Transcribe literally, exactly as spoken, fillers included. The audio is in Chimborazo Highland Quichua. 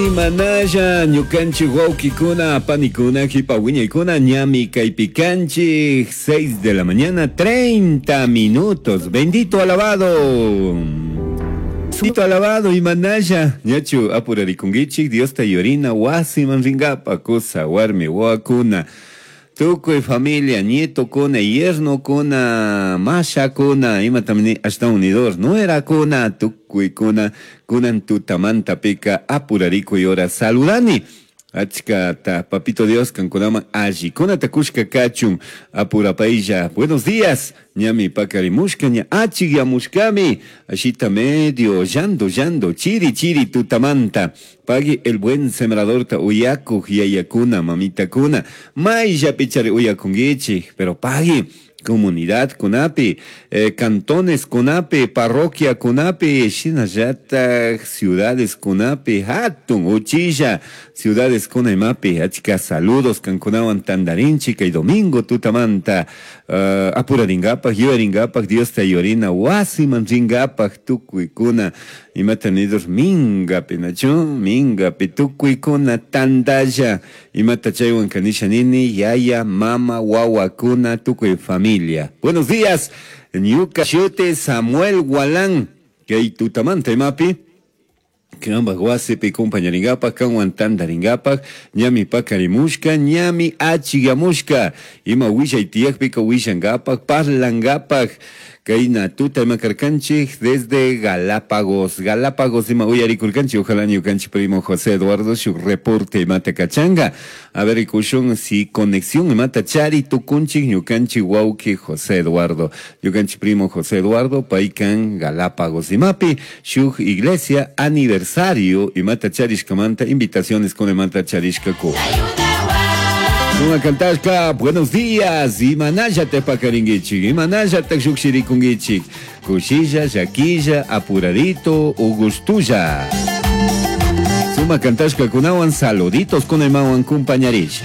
Imanalla ñukanchik wawkikuna panikuna jipa wiñaykuna ñami kaypikanchik seis de la mañana treinta minutos. Bendito alabado. Bendito alabado imanalla ñachu apurarikunkichik Diosta yorina wasiman ringapa kusa warmi wawakuna tukuy familia nietokuna yernokuna mashakuna imatam ashtawan unidor nuerakuna tukuykuna kunan tutamantapika apurarikuy hora saludani achkata papito Dios kankunaman allikunata kushka kachun apurapaylla. Buenos días, ñami pakarimushka ña achikyamushkami ashita medio llando llando chiri chiri tutamanta pagui el buen sembradorta uyakuj yayakuna mamitakuna mayllapichari uyakunkichik pero pagui comunidad kunapi, eh, cantones kunapi, parroquia kunapi, shinallatak ciudades kunapi, hatun uchilla ciudades kunaymapi, achka saludos kankunawan tandarinchik kay domingo tutamanta uh, apuraringapak, yuyaringapak, Diosta yorina wasiman ringapak tukuykuna imata nidos mingapi nachu mingapi tukuykuna tandalla imata chaywan kanisha nini yaya mama wawakuna tukuy familia. Buenos días, ñuka shuti Samuel Gualán kay tutamanta imapi kanpak wasipi compañaringapak kanwan tandaringapak ñami pakarimushka ñami achigamushka ima willay tiyakpika willangapak parlangapak kayna tuta ima karkanchik desde Galápagos. Galápagos ima uyarikurkanchik ojalá ñukanchik primo José Eduardo shuk reporte imata kachanga a ver rikushun si conexión imata chari tukunchik ñukanchik wawki José Eduardo ñukanchik primo José Eduardo paykan Galápagos imapi shuk iglesia aniversario imata charishkamanta invitaciones con imata charishkaku. Una cantashka, buenos días, imanalla te pakaringichik, imanalla te shukshirikungichik, kushilla, llaquilla, apuradito, ugustulla. Suma cantashka kunawan saluditos con imawan compañarisha.